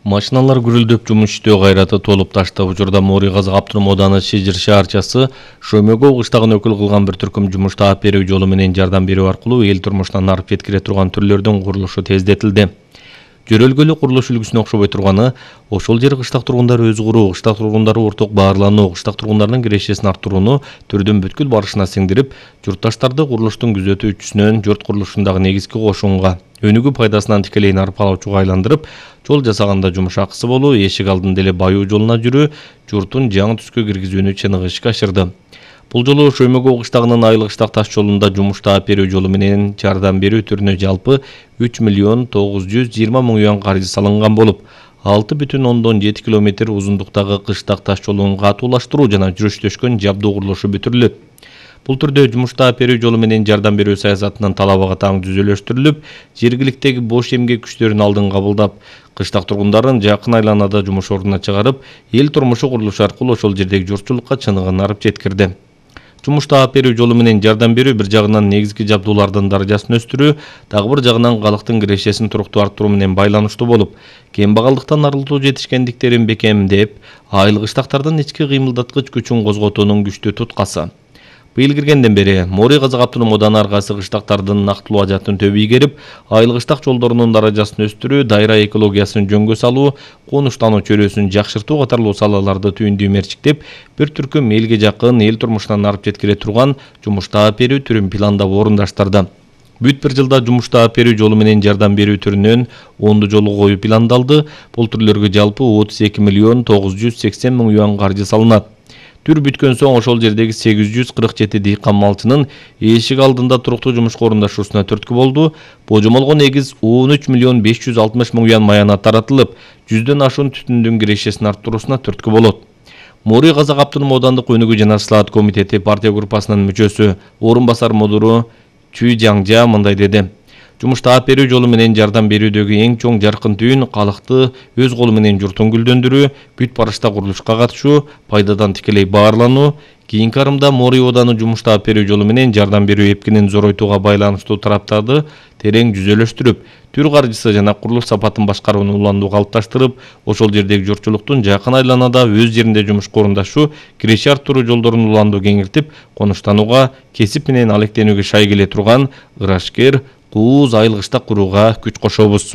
Машиналар гүрүлдөп жумуш иштөө кайраты толуп ташты. Учурда Мори Казак Аптурум ооданы Шижир шаарчасы Шөмөгө кыштагын өкүл кылган бир түркүм жумуш таап берүү жолу менен жардам берүү аркылуу эл турмушунан арып жеткире турган түрлөрдүн курулушу тездетилди. Жөрөлгөлүү курулуш үлгүсүнө окшобой турганы, ошол жер кыштак тургундары өз куруу, кыштак тургундары орток баарлануу, кыштак тургундарынын кирешесин арттырууну түрдүн бүткүл барышына сиңдирип, журтташтарды курулуштун күзөтүүчүсүнөн журт курулушундагы негизги кошунга, өнүгүү пайдасынан тикелей нарып алуучуга айландырып, жол жасаганда жумуш акысы болуу, эшик алдында эле баюу жолуна жүрүү, журтун жаңы түскө киргизүүнү чыныгы ишке ашырды. Бул жолу Шөмөгө кыштагынын Айлык кыштак таш жолунда жумуш таап берүү жолу менен жардам берүү түрүнө жалпы 3.920.000 юан каржы салынган болуп, 6,7 километр узундуктагы кыштак таш жолун катуулаштыруу жана жүрүштөшкөн жабдуу курулушу бүтүрүлөт. Бул түрдө жумуш таап берүү жолу менен жардам берүү саясатынын талабы таң түзөлөштүрүлүп, жергиликтеги бош эмгек күчтөрүн алдын кабылдап, кыштак тургундарын жакын айланада жумуш ордуна чыгарып, эл турмушу курулушу аркылуу ошол жердеги журтчулукка чыныгын арып жеткирди. Жумуш таап берүү жолу менен жардам берүү бир жагынан негизги жабдуулардын даражасын өстүрүү, дагы бир жагынан калктын кирешесин туруктуу арттыруу менен байланыштуу болуп, кембагалдыктан арылтуу жетишкендиктерин бекемдеп, айыл кыштактардын ички кыймылдаткыч күчүн козготуунун күчтүү туткасы. Быйыл киргенден бери Мори Казак Аптурум ооданы ар кайсы кыштактардын нактылуу ажатын төбү ийгерип, айыл кыштак жолдорунун даражасын өстүрүү, дайра экологиясын жөнгө салуу, конуштануу чөйрөсүн жакшыртуу катарлуу салаларды түйүндүү мерчиктеп, бир түркүм элге жакын, эл турмушунан арып жеткире турган жумуш таап берүү түрүн пландап орундаштырды. Бүт бир жылда жумуш таап берүү жолу менен жардам берүү түрүнөн 10 жолу коюу пландалды. Бул түрлөргө жалпы 32.980.000 юан каржы салынат. Түр бүткөн соң ошол жердеги 847 дыйкан малчынын эшик алдында туруктуу жумушка орундашуусуна түрткү болду. Божомолго негиз 13.560.000 юан маянат таратылып, 100дөн ашуун түтүндүн кирешесин арттыруусуна түрткү болот. Мори Казак Аптурум оодандык өнүгүү жана слаат комитети партия группасынын мүчөсү, орун басар мудуру Чүй Жаңжа мындай деди. Жумуш таап берүү жолу менен жардам берүүдөгү эң чоң жаркын түйүн калкты өз колу менен журтун гүлдөндүрүү, бүт барышта курулушка катышуу, пайдадан тикелей баарлануу, кийинки арымда Мори ооданы жумуш таап берүү жолу менен жардам берүү эпкинин зоройтууга байланыштуу тараптарды терең жүзөлөштүрүп, түр каржысы жана курулуш сапатын башкарууну уландуу калыпташтырып, ошол жердеги журтчулуктун жакын айланада өз жеринде жумушка орундашуу, киреше арттыруу жолдорун уландуу кеңиртип, конуштанууга, кесип менен алектенүүгө шай келе турган ырашкер, кууз айыл кыштак курууга күч кошобуз.